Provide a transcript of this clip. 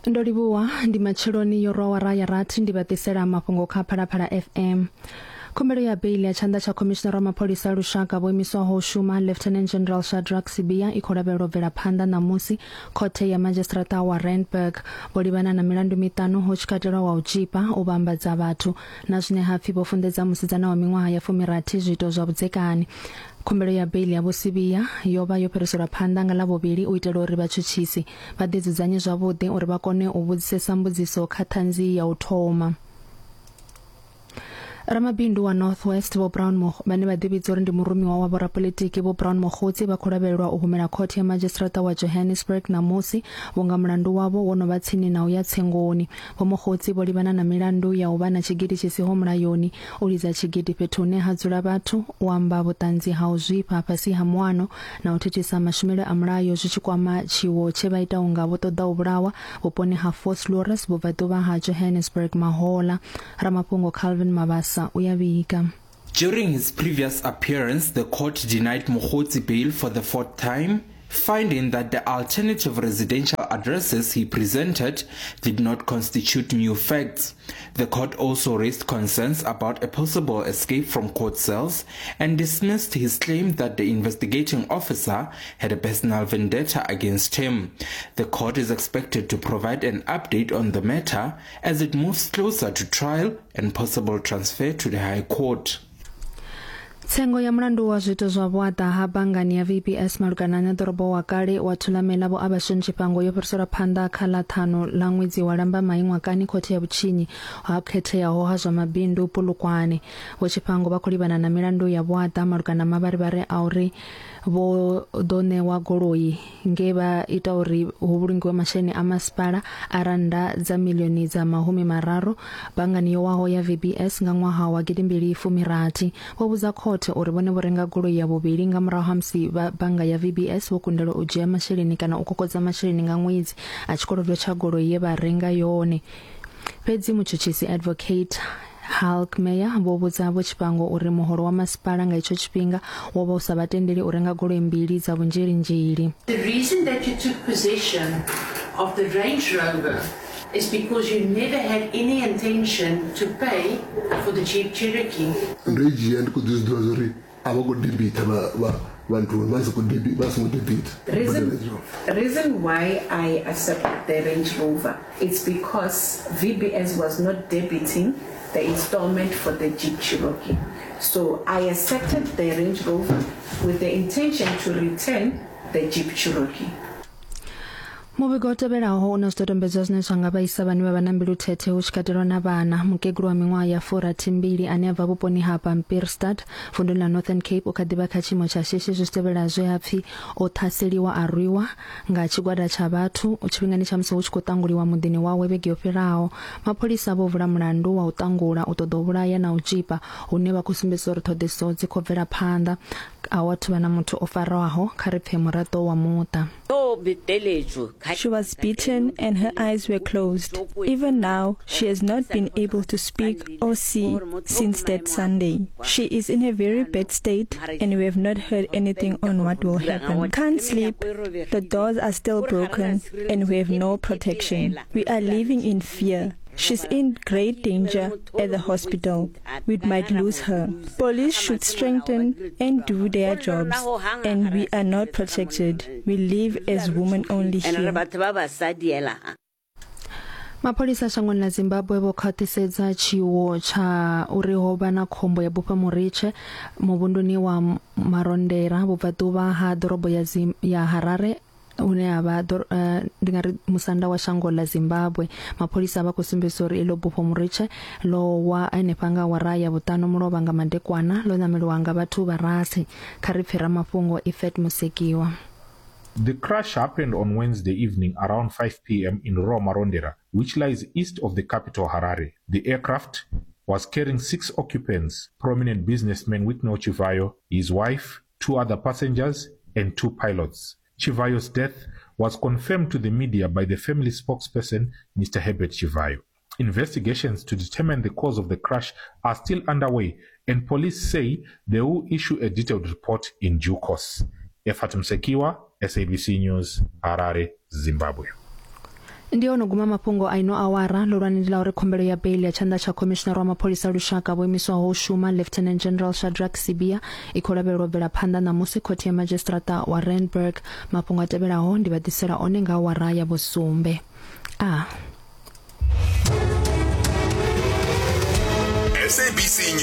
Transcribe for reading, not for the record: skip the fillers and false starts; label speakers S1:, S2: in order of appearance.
S1: Ndo livhuwa ndi matsheloni yo rwa wara ya rathi ndi vha ḓisela mafhungo kha Phalaphala FM. Khumbelo ya beili ya tshanḓa tsha khomishinara wa mapholisa a lushaka vho imiswaho u shuma Lieutenant General Shadrack Sibiya i khou lavhelelwa u bvela phanḓa ṋamusi khothe ya madzhisiṱiraṱa wa Randburg. Vho livhana na milandu miṱanu hu tshi katelwa wa u tzhipa, u vhambadza vhathu na zwine ha pfi vho funḓedza musidzana wa miṅwaha ya fumirathi zwiito zwa vhudzekani. Khumbelo ya beili ya Vho Sibiya yo vha yo fhiriselwa phanḓa nga Ḽavhuvhili u itela uri vhatshutshisi vha ḓidzudzanye zwavhuḓi uri vha kone u vhudzisesa mbudziso kha ṱhanzi ya u thoma. Ramabindu wa North West Vho Brown vhane vha ḓivhidza uri ndi murumiwa wa vhorapolitiki Vho Brown Mogotsi vha khou lavhelelwa u humela khothe ya madzhisiṱiraṱa wa Johannesburg ṋamusi vhunga mulandu wavho wo no vha tsini na u ya tsengoni. Vho Mogotsi vho livhana na milandu ya u vha na tshigidi tshi siho mulayoni, u lidza tshigidi fhethu hune ha dzula vhathu, u amba vhuṱanzi ha u zwifha fhasi ha muano na u thithisa mashumele a mulayo zwi tshi kwama tshiwo tshe vha ita unga vho ṱoḓa u vhulawa vhuponi ha Vosloorus vhubvaḓuvha ha Johannesburg mahoḽa. Ramafhungo Calvin Mabasa u ya vhiga.
S2: During his previous appearance, the court denied Mogotsi bail for the fourth time, finding that the alternative residential addresses he presented did not constitute new facts. The court also raised concerns about a possible escape from court cells and dismissed his claim that the investigating officer had a personal vendetta against him. The court is expected to provide an update on the matter as it moves closer to trial and possible transfer to the High Court.
S1: Tsengo ya mulandu wa zwiito zwa vhuaḓa ha banngani ya VBS malugana na ḓorobo wa kale wa Thulamela Vho Abashon Tshifhango yo fhiriselwa phanḓa kha ḽa ṱhanu ḽa ṅwedzi wa Lambamai ṅwakani khothe ya vhutshinyi ha khetheaho ha zwa mabindu Polokwane. Vho Tshifhango vha khou livhana na milandu ya vhuaḓa malugana na mavharivhari a uri vho ḓo ṋewa goloi nge vha ita uri hu vhulungiwe masheleni a masipala a rannda dza miḽioni dza mahumi mararu banngani yo waho ya VBS nga ṅwaha wa gidimbili fumi rathi. Vho vhudza khothe uri vhone vho renga goloi ya vhuvhili nga murahu ha musi vha bannga ya VBS vho kundelwa u dzhia masheleni kana u kokodza masheleni nga ṅwedzi a tshikolodo tsha goloi ye vha renga yone. Fhedzi mutshutshisi Advocate Halkmeyer vho vhudza Vho Tshifhango uri muholo wa masipala nga itsho tshifhinga wo vha u sa vha tendeli u renga goloi mbili dza vhunzhelinzheli.
S3: The reason that you took possession of the Range Rover is because you never had any intention to pay for the Jeep Cherokee.
S4: Ndo i dzhia ndi khou ḓi zwi ḓivha zwa uri a vha khou debita vha vha vha nthuni vha songo debi vha songo debita
S5: Reason, reason why I accepted the Range Rover it's because VBS was not debiting the installment for the Jeep Cherokee. So I accepted the Range Rover with the intention to return the Jeep Cherokee.
S1: Muvhigo u tevhelaho u na zwidodombedzwa zwine zwa nga vhaisa vhane vha vha na mbilu thethe hu tshi katelwa na vhana. Mukegulu wa miṅwaha ya furathi mbili ane a bva vhuponi ha Pampierstad vunduni ḽa Northern Cape u kha ḓi vha kha tshiimo tsha shishi zwi tshi tevhela zwe ha pfi o ṱhaseliwa a rwiwa nga tshigwada tsha vhathu tshifhingani tsha musi hu tshi khou ṱanguliwa muḓini wawe vhege yo fhiraho. Mapholisa vho vula mulandu wa u ṱangula, u ṱoḓa u vhulaya na u tzhipa hune vha khou sumbedzisa uri ṱhoḓisiso dzi khou bvela phanḓa. A hu athu vha na muthu o farwaho. Kha ri pfe muraḓo wa muṱa.
S6: She was beaten and her eyes were closed. Even now, she has not been able to speak or see since that Sunday. She is in a very bad state and we have not heard anything on what will happen. Can't sleep, the doors are still broken and we have no protection. We are living in fear. She's in great danger at the hospital. We might lose her. Police should strengthen and do their jobs, and we are not protected. We live as women only here.
S1: Mapholisa shangoni ḽa Zimbabwe vho khwaṱhisedza tshiwo tsha uri ho vha na khombo ya bufha muritshe muvhunduni wa Marondera vhubvaḓuvha ha ḓorobo ya, ya Harare hune ha vha ndi nga ri musanda wa shango ḽa Zimbabwe. Mapholisa vha khou sumbedzisa uri iḽo bufho muritshe ḽo wa henefha nga awara ya vhuṱanu mulovha nga madekwana ḽo ṋameliwa nga vhathu vha rathi. Kha ri pfe ramafhungo Ifet Musekiwa.
S7: The crash happened on Wednesday evening around 5 p.m. in Roma Marondera, which lies east of the capital Harare. The aircraft was carrying six occupants, prominent businessman Wicknell Chivayo, his wife, two other passengers, and two pilots. Chivayo's death was confirmed to the media by the family spokesperson, Mr. Herbert Chivayo. Investigations to determine the cause of the crash are still underway, and police say they will issue a detailed report in due course. Efat Msekiwa, SABC News, Harare, Zimbabwe.
S1: Ndi ono guma mafhungo a ino awara. Ḽihulwane ndi ḽa uri khumbelo ya beili ya tshanḓa tsha khomishinari wa mapholisa a lushaka vho imiswaho u shuma Lieutenant General Shadrack Sibiya i khou lavhelelwa u bvela phanḓa ṋamusi khothe ya madzhisiṱiraṱa wa Randburg. Mafhungo a tevhelaho ndi vha ḓisela one nga awara ya vhusumbe. A.
S8: SABC.